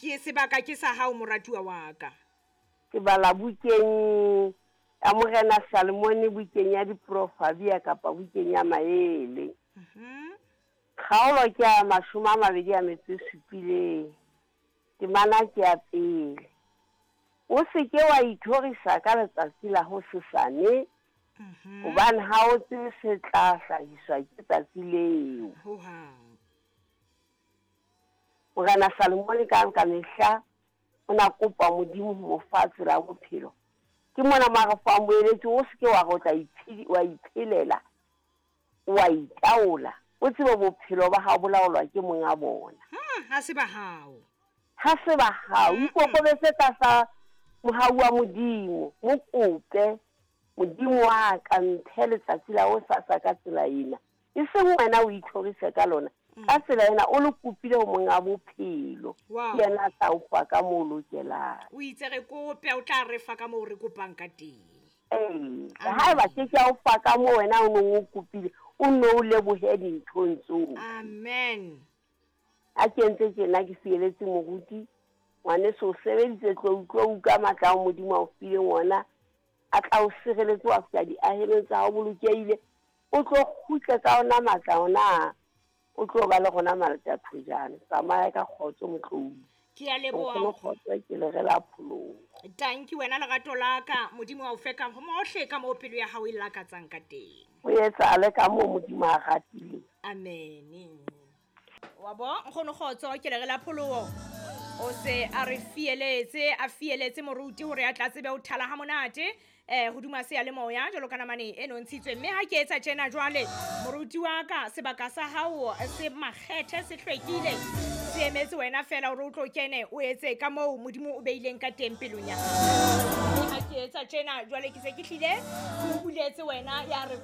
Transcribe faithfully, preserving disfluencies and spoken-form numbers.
Ke sebaka ke sa hao moratuwa wa ka. Ke bala bukeng ya Morena Salomone, bukeng ya Diprofabia kapa bukeng ya Maele. Mhm. Kgaolo ke ya mashome a mabedi a metso e supileng. Temana ke ya pele. O se ke wa ithorisa ka letsatsi la hosesane, Mhm. hobane ha o tsebe se tla hlahiswa ke tsatsi leo. Ho hang. Morena Salomone ka ka mehla o na kopa Modimo ho mo fa tsela ya bophelo. Ke mona mo a re fang boeletsi, o se ke wa re o tla iphedi- wa iphelela, wa itaola. O tsebe bophelo ba hao bo laolwa ke monga bona. Hmm, ha se ba hao. Ha se ba hao, ikokobetse tlasa mohau wa Modimo, mo kope Modimo wa ka mphe letsatsi la hosasa ka tsela ena. E seng wena o ithorise ka lona. Ka tsela ena o le kopile ho monga bophelo. Wow. Ke yena a tla o fa ka moo o lokelang. O itse re kope, o tla re fa ka moo re kopang ka teng. Ee, haeba ke ke a o fa ka moo wena o neng o kopile, o nno o lebohe dinthong tsohle. Amen. Ha ke entse tjena ke fieletse moruti, ngwaneso o sebeditse tlou tlou ka matla ao Modimo a o fileng ona, a tla o sireletse wa fihla diahelong tsa hao bolokehile, o tlo kgutle ka ona matla ona, o tlo ba le rona malatathojane. Tsamaya ka kgotso motlou. Ke a leboha. Nkgono kgotso ke le re la pholoho. Tanki wena lerato la ka, Modimo a o fe ka hohle ka moo pelo ya hao e lakatsang ka teng. O etsahale ka moo Modimo a ratileng. Amen. Wa bo nkgono kgotso ke le re la pholoho. O se a re fieletse, a fieletse moruti hore a tla tsebe ho thala ha monate, eh, hodima seyalemoya jwalo ka namane e nontshitswe. Mme ha ke etsa tjena jwale, moruti wa ka, sebaka sa hao se makgethe, se hlwekile, se emetse wena fela hore o tlo kene o etse ka moo Modimo o beileng ka teng pelong ya hao. Mme ha ke etsa tjena jwale ke se ke hlile ke o buletse wena ya re